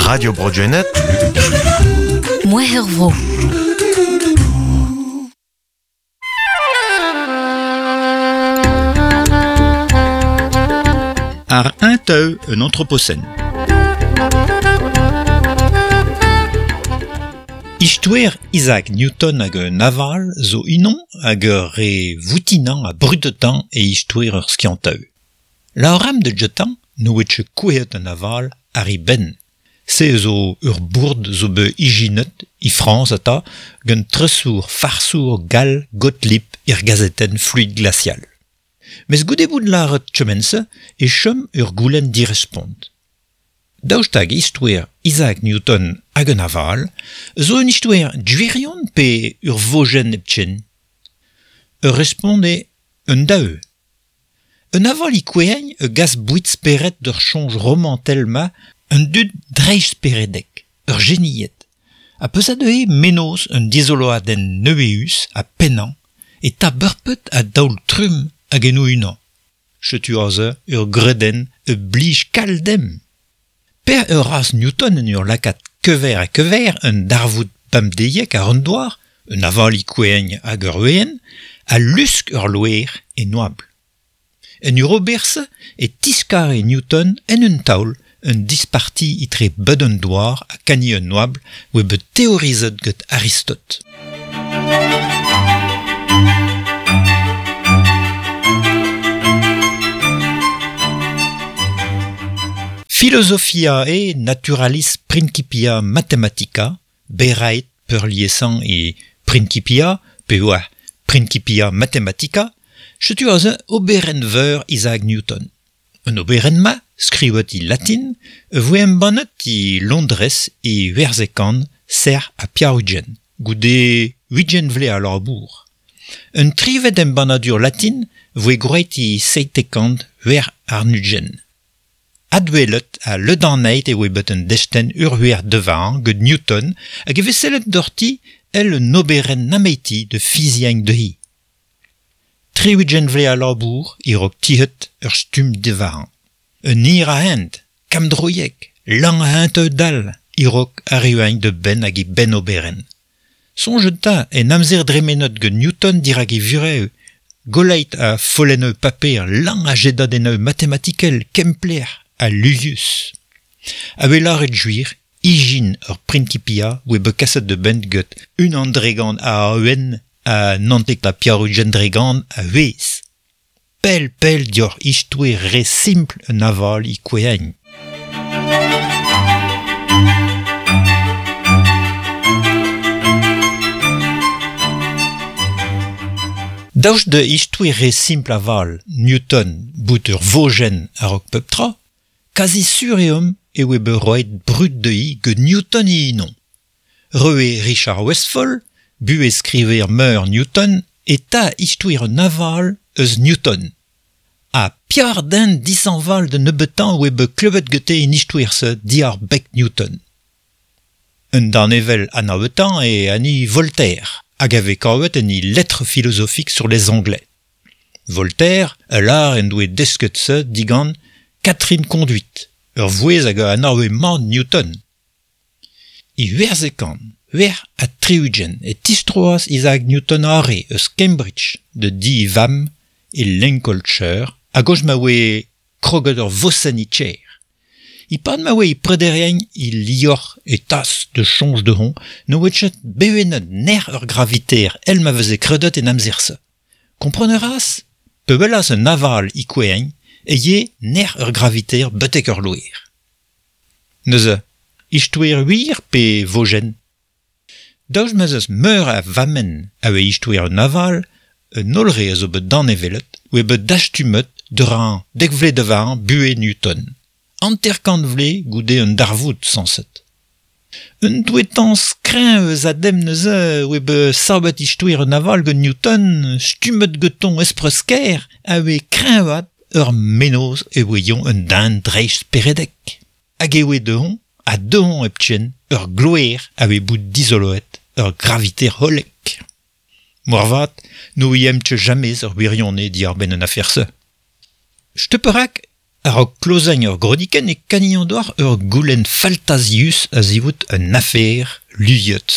Radio Bro Gwened. Mouezh ur vro. Ar un teu un anthropocène. Istoer Isaac Newton hag un aval zo unan hag ur re voutinañ ha brudetañ e istoer ur skiantaeu. Laoram de jetan n'oe ket kouezhet un aval ar e benn. Se zo ur bourd zo bet ijinet e Frañs ata gant tresour farsour gall Gottlieb er gazetenn Fluide Glacial. Mes goude bout lâret kement-se e chom ur goulenn direspont. Daoust hag istoer Isaac Newton hag un aval zo un istoer gwirion pe ur vojenn hepken? Ur respont eo un daou. Un aval e kouezhagn a gas boued spered d'ur soñj romantel-ma un dud dreistsperedek, ur genied. Ha peus a deuhe mennozh un dizoloadenn neveüs ha pennañ e ta beurpet a daol trumm hag en o-unan. Setu aze ur gredenn a blij kalz demp. Per ur raz Newton en ur lakaat kever ha kever un darvoud pemdeiek àr an douar, un aval e kouezhagn hag ur we'enn, a lusk ur loer e oabl. En ur ober-se e tiskare Newton en un taol un disparti etre bed an douar ha kani an oabl oa bet teorizet gant Aristote. Philosophiae naturalis principia mathematica, berraet peurliesañ e Principia, pe oa Principia mathematica, setu aze oberenn veur Isaac Newton. Un oberenn-ma, skrivet e latin, voe embannet e Londrez e Werzhekan, serr ha pevar-ugent, goude ugent vloaz a labour. Un trivet embannadur latin voe gwraet e 726. Adwelet ha ledanaet e oa bet un destenn ur-wir devañ gant Newton hag e vez sellet doc'hti èl un oberenn nemeti da fiziañ dezhi. 60 vloaz a labour e-raok tizhet ur stumm devañ. Un hir a hent, kammdroiek, lañ a hentoù dall e-raok arriuañ da benn hag e benn-oberenn. Soñjet 'ta en amzer dremenet gant Newton dirak e vurev, goleit a follennoù paper lañ a jedadennoù matematikel kempler ha luzius. A-wel lâret gwir, ijin ur Principia oa bet kaset da benn gant unan dregont a awen ha 99% a wezh. Pell pell dioc'h istoer re simpl un aval e kouezhagn. Daoust da istoer re simpl aval Newton bout ur vojenn a-raok pep tra, kazi sur eo omp e oa bet roet brud dezhi gant Newton e-unan. Roe Richard Westfall, buhezskriver meur Newton, e ta istoer un aval eus Newton. Ha pevar den dishañval da nebeutañ oa bet klevet gante en istoer-se diwar beg Newton. Un danevell anavezetañ eo hini Voltaire, hag a vez kavet en e Lettres philosophiques sur les Anglais. Voltaire a lâr en doe desket se digant Catherine Conduit, ur vouezh hag a anave mat Newton. E 1866 e tistroas Isaac Newton arre eus Cambridge da di e vamm e Lincolnshire a-gozh ma oa kroget ur vosenn e kêr. E-pad ma oa e prederiañ e liorzh e tas da soñj dezhañ ne oa ket bevennet nec'h ur graviter èl ma veze kredet en amzer-se. Kompren a ras? Pe welas un aval e kouezhañ e ye nec'h ur graviter betek ur loer. Neuze, istoer wir pe vojenn? Daoust ma'z eus meur a vammenn a oa istoer un aval, un holl re a zo bet danevellet oa bet dastumet dre dek vloaz da varn buhez Newton. 50 vloaz goude un darvoud sañset. Un douetañs kreñv eus a dem neuze oa bet savet istoer un aval gant Newton, stummet gantañ espreus-kaer a oa kreñvaat ur mennozh e oa un den dreistsperedek. Hag e oa dezhañ, ha dezhañ hepken, ur gloer a oa bout dizoloet ur graviter hollek. Moarvat n'ouiemp ket james ur wirionez diwar-benn an afer-se. Setu perak Ar klozañ ur groniken e kanion doar ur goulenn faltazius a zivout un afer luiot.